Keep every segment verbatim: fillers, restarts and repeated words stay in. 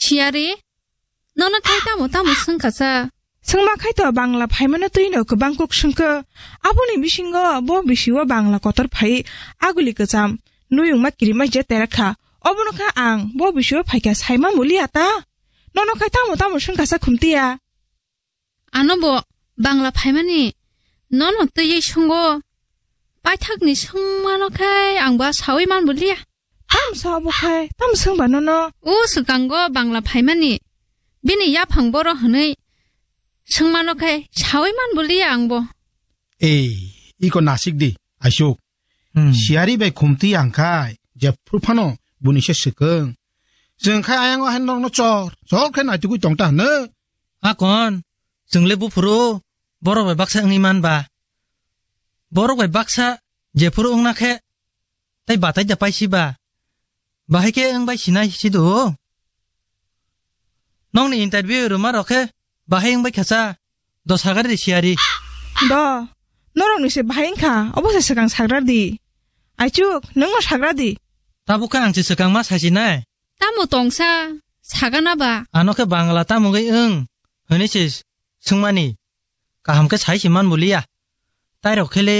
Siyari, nono khai tamo tamo swngkha sa? Swngma khai to Bangla phaimano twino kwbang kuk swngkho. Aboni bisingo bo bisio Bangla kotor phai aguli kwcham. Nuyungma kirima je terakha. Obono kha ang bo bisio phaikha saima mulia ta. Nono khai tamo tamo swngkha sa khumtiya? Ano bo Bangla phaimani nono twiwi swnggo. Paithakni swngmano khai ang ba sawi man bulia. Tam sa bo khai, tam swngba nono? O swkango Bangla phaimani bini yaphang boro hwnwi swngmano khai sawi man bulia ang bo. Ei, iko nasik di, Aisuk. Hmm. Siyari bai khumti ang khai, jephru phano buni se swkang. Chwng khai ayang o hai norokno chor, chor khe naitugwi tong ta hwno. Akon, chwng le buphuru borok bai baksa wngwi man ba. Borok bai baksa jephuru wngna khe, tai batai da paisi ba. Bahai khe wng bai sinai si do. Nokni interview rwma rok khe bahai wng bai kha cha. Do sagar di siyari. Do, norok ni se bahai wng kha, obo se swkang sagra di. Aichuk, nwng no sagra di. Tabuk khe ang se swkang ma sasinai. Tamo tongsa, sagana ba? Ano khe Bangla tamo wngwi wng, hwnwi se swngmani. Kaham khe sai se man buliya. Tai rok khe le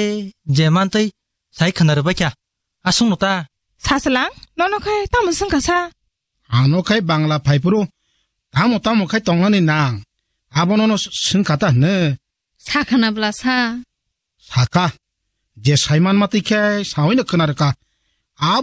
je mantwi sai khwna rwbai kha. Aswk no ta. Saswlang, nono khai tamo swngkha sa? Ano khai Bangla phaiphuru tamo tamo khai tongnani nang. Abono no swngkha ta hwno. Sakhana bla sa. Sakha. Je saiman matwi khe sawi no khwna rwkha. Abo